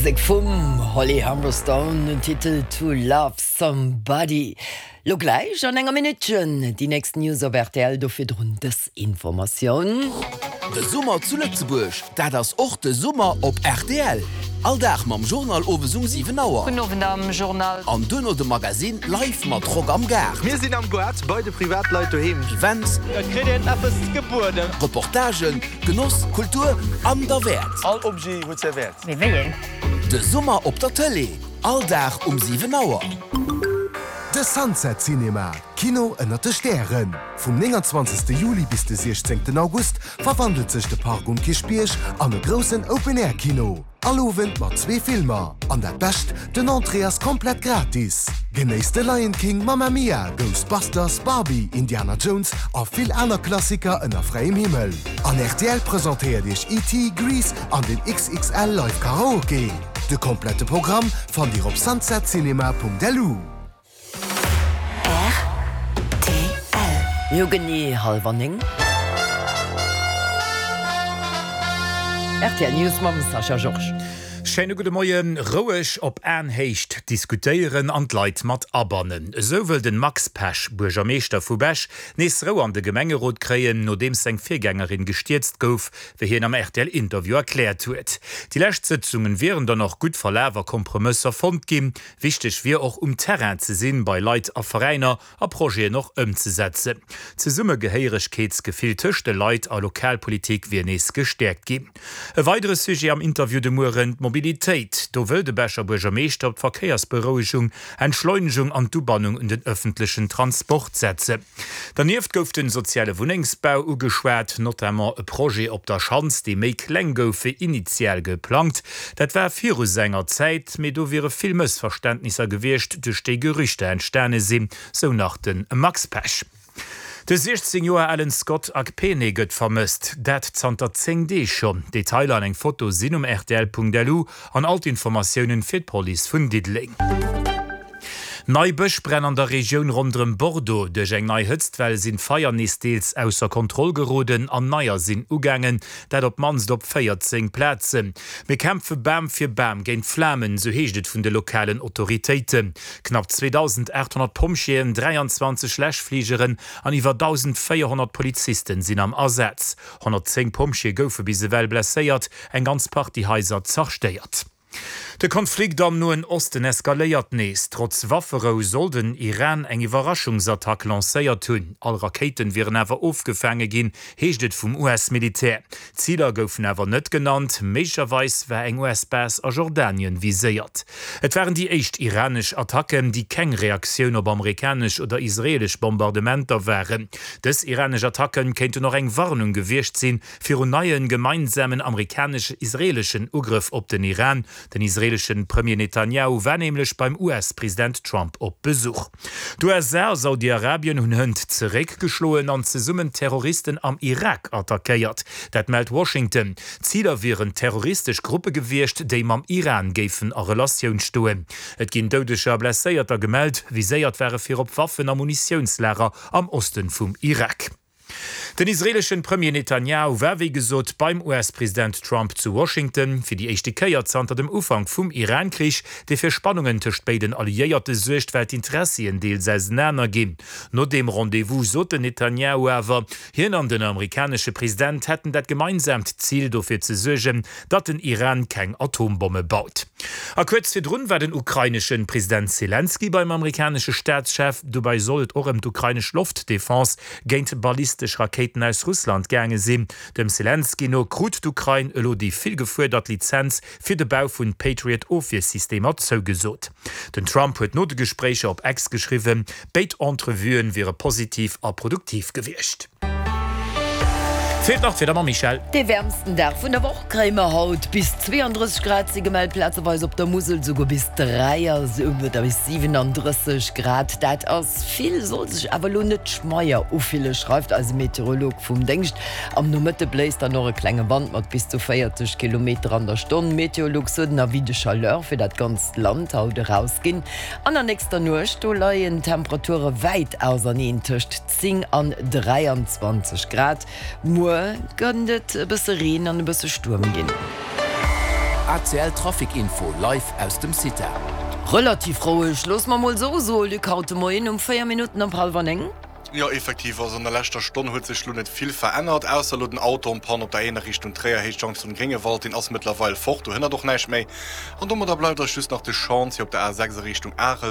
Musek vum Holly Humberstone, den Titel To Love Somebody. Lo gläich an enger Minuttchen déi nächst News op rtl, do virdrun dës Informatioun. De Summer zu Lëtzebuerg, dat ass och de Summer op rtl. All Dag mam Journal owes um 7 Auer. Gudden Owend am Journal. An duerno de Magazine live mat Rock am Gaart. Mir sinn am Goart bei de Privatleit doheem. Events. Et kritt een eppes gebueden. Reportagen, Genoss, Kultur an derwäert. All Objet huet säi Wäert. Mee wéi een? De Summer op der Tëlee, all Dag um 7 Auer. De Sunset Cinema, Kino ënnert de Stären. Vum 29. Juli bis de 16. August verwandelt sech de Park um Kierchbierg an e groussen Open-Air-Kino. All Owend mat zwee Filmer. An dat Bescht, den Entrée ass komplett gratis! Genéisst de Lion King, Mamma Mia, Ghostbusters, Barbie, Indiana Jones a vill aner Klassiker ënner fräiem Himmel. An rtl presentéiert iech ET, Grease an den XXL Live Karaoke. De komplette Programm fannt dir op sunsetcinema.lu. Rtl. Jo, genee hallwer 9. Rtl News mam Sascha Georges. Schéine gudde Moien. Roueg op Aenhéicht diskutéieren an d'Leit mat abannen. Esou wëll den Max Pesch, Buergermeeschter vu Bech, nees Rou an de Gemengerot kréien, nodeems seng Virgängerin gestierzt gouf, wéi hien am RTL-Interview erkläert huet. Déi lescht Sëtzungen wieren dann och gutt verlaf a Kompromësser fonnt ginn. Wichteg wier och um Terrain ze sinn, bei Leit a Veräiner a Projeten och ëmzesetzen. D'Zesummegehéieregkeetsgefill tëscht de Leit a Lokalpolitik wier nees gestäerkt ginn. E weidere Sujet am Interview de Mueren, d'Mobilitéit. Do wëll de Becher Buergermeeschter op d'Verkéiersberouegung, Entschleunegung an d'Ubannung un den ëffentlechen Transport setzen. Dernieft gouf den soziale Wunnengsbau ugeschwat, notamment e Projet op der Schanz, dee méi kleng gouf wéi initial geplangt. Dat war viru senger Zäit, mee do wiere vill Mëssverständnisser gewiescht, duerch déi Gerüchter entstane sinn, sou nach de Max Pesch. De 16 Joer alen Scott Akpene gëtt vermësst, dat zanter 10 Deeg schonn. Detailer an eng Foto sinn um rtl.lu an all d'Informatiounen fir d'Police vun Diddeleng. Nei Bëschbränn an der Regioun ronderëm Bordeaux. Duerch eng nei Hëtztwell sinn d'Feier nees deels ausser Kontroll geroden an neier sinn ugaangen, dat op d'mannst op 14 Plazen. Mir kämpfe Bam fir Bam géint d'Flamen, sou heescht et vun de lokalen Autoritéiten. Knapp 2.800 Pompjeeën, 23 Läschfligeren an iwwer 1.400 Polizisten sinn am Asaz. 110 Pompjeeë goufe bis ewell blesséiert, eng ganz Partie Haiser zerstéiert. De Konflikt am Noen Osten eskaléiert nees. Trotz Wafferou soll den Iran eng Iwwerraschungsattack lancéiert hunn. All Rakéiten wieren awer ofgefaange ginn, heescht et vum US-Militär. Ziler goufen awer net genannt. Méiglecherweis war eng US-Base a Jordanien viséiert. Et waren déi éischt iranesch Attacken, déi keng Reaktioun op amerikanesch oder israeelesch Bombardementer waren. Dës iranesch Attacken kéinten och eng Warnung gewiescht sinn, Virun neie gemeinsamen amerikanesch-israeleschen Ugrëff op den Iran. Den israelesche Premier Netanjahu war nämlech beim US-President Trump op Besuch. D'USA a Saudi-Arabien hunn hënt zeréckgeschloen an zesummen Terroristen am Irak attackéiert. Dat mellt Washington. Ziler wieren terroristesch Gruppe gewiescht, déi mam Iran géifen a Relatioun stoen. Et ginn Doudeger a Blesséierter gemellt. Viséiert ware virop Waffen a Munitiounslager am Oste vum Irak. Den israeleschen Premier Netanjahu war wéi gesot beim US-President Trump zu Washington, fir déi éischte Kéier zanter dem Ufank vum Iran-Krich, dee fir Spannungen tëscht béiden Alliéierte suergt, well d'Interessien deels ausenaner ginn. No deem Rendez-vous sot den Netanjahu awer, hien an den amerikanesche President hätten dat gemeinsaamt Zil, dofir ze suergen, datt den Iran keng Atombomme baut. A kuerz virdrun war den ukraineschen President Selenskyj beim amerikanesche Staatschef. Dobäi soll et och ëm d'ukrainesch Loftdefense géint ballistesch Rakéiten aus Russland gaange sinn. Dem Selenskyj no krut d'Ukrain elo déi vill gefuerdert Lizenz fir de Bau vun Patriot-Ofwiersystemer zougesot. Den Trump huet no de Gespréicher op X geschriwwen, béid Entrevuë wiere positiv a produktiv gewiescht. Feelt nach d'Wieder mam Michèle. Dee wäermsten Dag vun der Woch kréie mer haut. Bis 32 Grad si gemellt, plazeweis op der Musel souguer bis 3 oder bis 37 Grad. Dat ass vill, soll sech awer elo net schmeier ufille, schreift eise Meteorolog vum Déngscht. Am Nomëtte bléist dann och e klenge Wand mat bis zu 40 Kilometer an der Stonn. Meteolux huet en Avis de chaleur fir dat ganzt Land haut erausginn. An der nächster Nuecht, do leien d'Temperature wäit auserneen tëscht 10 an 23 Grad. Muer kënnt et e bësse Reen an e bësse Stuerm ginn. ACL Trafic Info live aus dem CITA. Relativ roueg, loosse mer mol esou soen, Luc, haut de Moien um 4 Minutten op hallwer 9. Jo, effektiv, also an der leschter Stonn huet sech lo net vill verännert, ausser lo den Auto en panne op der Éiner Richtung Tréier, Héicht Junction Gréngewald, deen ass mëttlerweil fort, do hënnert och näischt méi. An domadder bleift eis just nach de Chantier op der A6 a Richtung Arel.